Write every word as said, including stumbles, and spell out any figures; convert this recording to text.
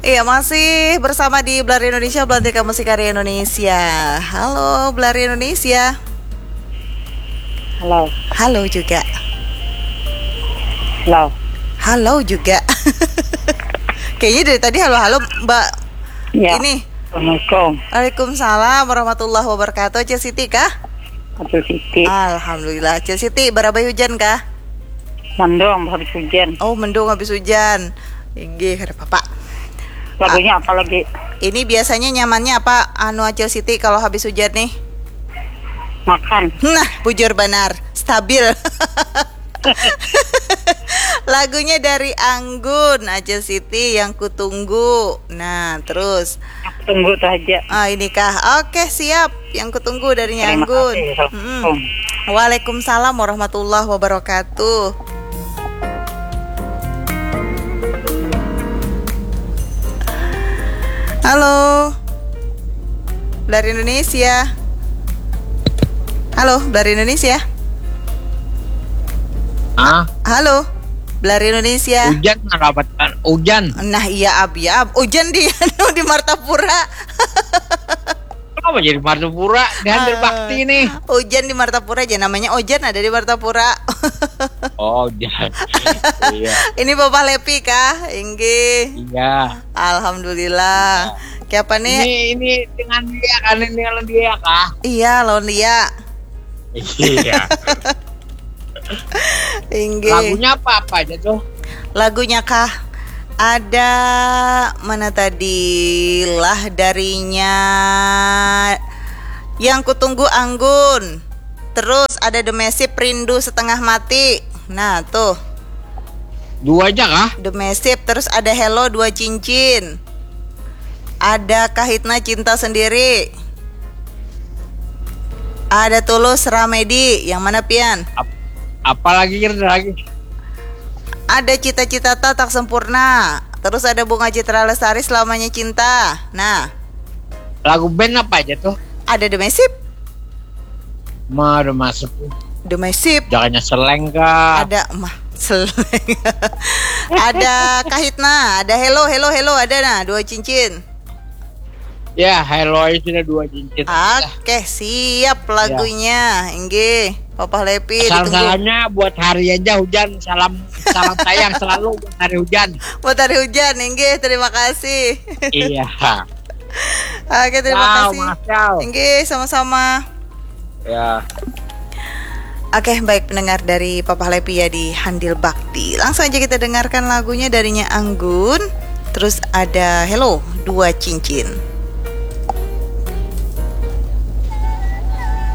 Iya, masih bersama di Belar Indonesia, Belantika Musik Karya Indonesia. Halo, Belar Indonesia. Halo. Halo juga. Halo. Halo juga. Kayaknya dari tadi halo-halo, Mbak. Ya. Ini. Assalamualaikum. Waalaikumsalam warahmatullahi wabarakatuh. Acil Siti kah? Acil Siti. Alhamdulillah. Acil Siti, barabai hujan kah? Mendung habis hujan. Oh, mendung habis hujan. Inggih, kada apa-apa. Lagunya apa lagi? Ini biasanya nyamannya apa, anu, Acil Siti, kalau habis hujan nih? Makan. Nah, bujur banar, stabil. Lagunya dari Anggun, Acil Siti, Yang Kutunggu. Nah, terus Tunggu tuh aja. Ah, ini kah? Oke, siap. Yang Kutunggu darinya Terima Anggun. kasih. Mm-mm. Assalamualaikum. Waalaikumsalam warahmatullahi wabarakatuh. Halo. Dari Indonesia. Halo, dari Indonesia. Ah, Halo. Dari Indonesia. Hujan mendapatkan hujan. Nah, iya, Ab, ya, Ab. Hujan di anu, di Martapura. Kenapa jadi Martapura di Handil Ah. Bakti nih? Hujan di Martapura aja, namanya Ojan ada di Martapura. Oh, hujan. Iya. Ini Bapak Lepi kah? Inggih. Iya. Alhamdulillah. Siapa nih? Ini ini dengan dia kan, ini dengan dia kah? Iya, lawan dia. Iya. Inggih. Lagunya apa apa aja tuh? Lagunya kah? Ada mana tadi lah, darinya Yang Kutunggu Anggun. Terus ada The Mesip, Rindu Setengah Mati. Nah, tuh. Dua aja kah? The Mesip, terus ada Hello, Dua Cincin. Ada Kahitna, Cinta Sendiri. Ada Tulus, Ramedi. Yang mana, pian? Apalagi kira lagi? Ada Cita-Cita Tak Sempurna. Terus ada Bunga Citra Lestari, Selamanya Cinta. Nah, Lagu band apa aja tuh? Ada The Mesip. Mah udah masuk. The Mesip. Jangannya seleng kah? Ada mah seleng. Ada Kahitna, ada Hello, Hello, Hello, ada, nah, Dua Cincin. Ya, Hello aja sudah, Dua Cincin. Oke, siap lagunya. Inggih, Papa Lepi ditunggu. Salam-salamnya buat hari aja hujan. Salam salam sayang selalu buat hari hujan. Buat hari hujan, inggih, terima kasih. Iya. Oke, terima Ciao, kasih. makasih, ciao. Inggih, sama-sama. Ya. Oke, baik, pendengar dari Papa Lepi ya di Handil Bakti. Langsung aja kita dengarkan lagunya darinya Anggun. Terus ada Hello, Dua Cincin.